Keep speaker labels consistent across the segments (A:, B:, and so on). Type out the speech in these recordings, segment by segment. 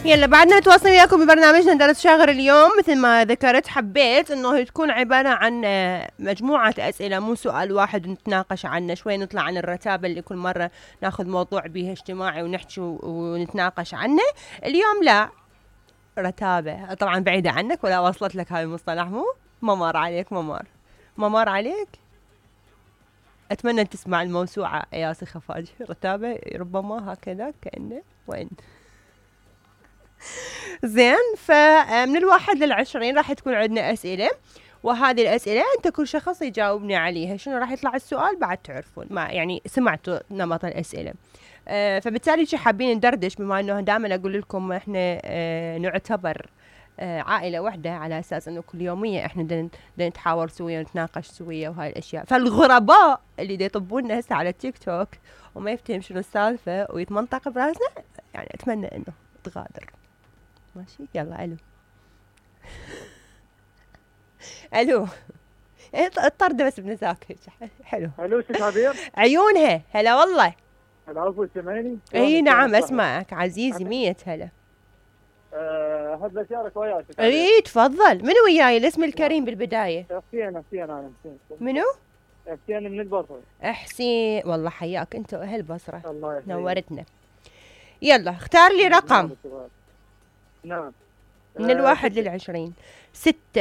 A: يلا بعدنا نتواصل وياكم ببرنامجنا درس شاغر اليوم. مثل ما ذكرت حبيت انه تكون عبارة عن مجموعة اسئلة، مو سؤال واحد نتناقش عنه، شوي نطلع عن الرتابة اللي كل مرة ناخذ موضوع بيه اجتماعي ونحكي ونتناقش عنه. اليوم لا رتابة، طبعا بعيدة عنك ولا وصلت لك هاي المصطلح، ما مر عليك، ما مر عليك. اتمنى ان تسمع الموسوعة ياسي خفاجي، رتابة ربما هكذا كأنه وين. زين، فمن 1 ل20 راح تكون عندنا أسئلة، وهذه الأسئلة أنت كل شخص يجاوبني عليها. شنو راح يطلع السؤال بعد تعرفون، ما يعني سمعتوا نمط الأسئلة. فبالتالي شو حابين ندردش، بما أنه دائما أقول لكم إحنا نعتبر عائلة واحدة، على أساس أنه كل يومية إحنا نتحاور سويا ونتناقش سويا وهاي الأشياء. فالغرباء اللي يطبوننا هسه على التيك توك وما يفتهم شنو السالفة ويتمنطق براسنا، يعني أتمنى أنه تغادر. ماشي، يلا الو. الو الطردة بس بنساك حلو.
B: الو ست عبير،
A: عيونها هلا والله.
B: العفو، سمعني؟
A: اي نعم اسمعك عزيزي، 100 هلا.
B: احب اشارك وياك.
A: اي تفضل. منو وياي الاسم الكريم بالبداية؟
B: حسين انا حسين.
A: منو؟
B: حسين من البصرة.
A: حسين، والله حياك انت واهل البصرة،
B: الله يحييك،
A: نورتنا. يلا اختار لي رقم.
B: نعم.
A: من 1 ل20. 6.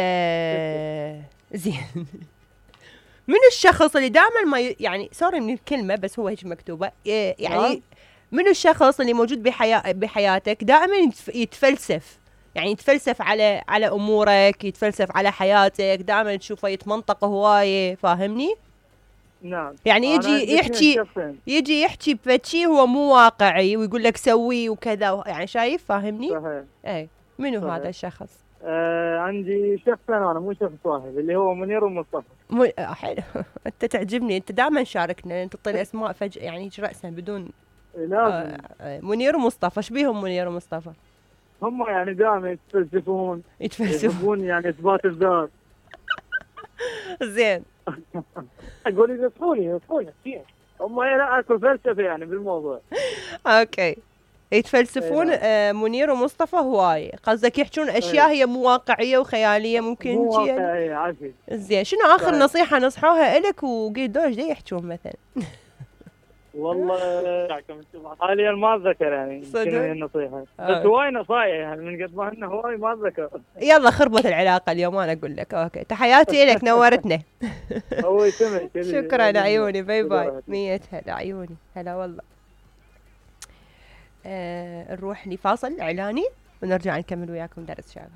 A: زين. من الشخص اللي دائما ما يعني سوري من الكلمة بس هو هيك مكتوبة، يعني من الشخص اللي موجود بحياتك دائما يتفلسف، يعني يتفلسف على امورك، يتفلسف على حياتك، دائما تشوفه يتمنطق هواية، فاهمني؟
B: نعم.
A: يعني يجي يحكي بشيء هو مو واقعي ويقول لك سوي وكذا، يعني شايف، فاهمني؟
B: صحيح.
A: اي منو
B: صحيح.
A: هذا الشخص؟
B: عندي شخصين انا، مو شخص واحد، اللي هو منير ومصطفى.
A: حلو. انت تعجبني، انت دائما شاركنا، تعطي الاسماء فجأة يعني رأسا بدون.
B: لازم.
A: منير ومصطفى، ايش بيهم منير ومصطفى؟
B: هم يعني دائما يتفلسفون يحبون يعني اثبات الذات.
A: زين.
B: اقول ينصحوني هم لا اكو فلسفه يعني بالموضوع.
A: اوكي، يتفلسفون. منير ومصطفى هواي، قصدك يحجون اشياء هي مو واقعيه وخياليه، ممكن
B: مو واقعيه عافية.
A: زين، شنو اخر نصيحه نصحوها لك وقيدوش دي يحجون مثلا؟
B: والله حاليا ما اتذكر يعني شنو هي النصيحه، بس هواي نصايح يعني من قد ما انه هواي ما اتذكر.
A: يلا خربت العلاقه اليوم، انا اقول لك. اوكي، تحياتي لك، نورتنا.
B: هو يسمعك.
A: شكرا عيوني، باي باي. 100 هلا عيوني، هلا والله. نروح لفاصل اعلاني ونرجع نكمل وياكم درس شاغر.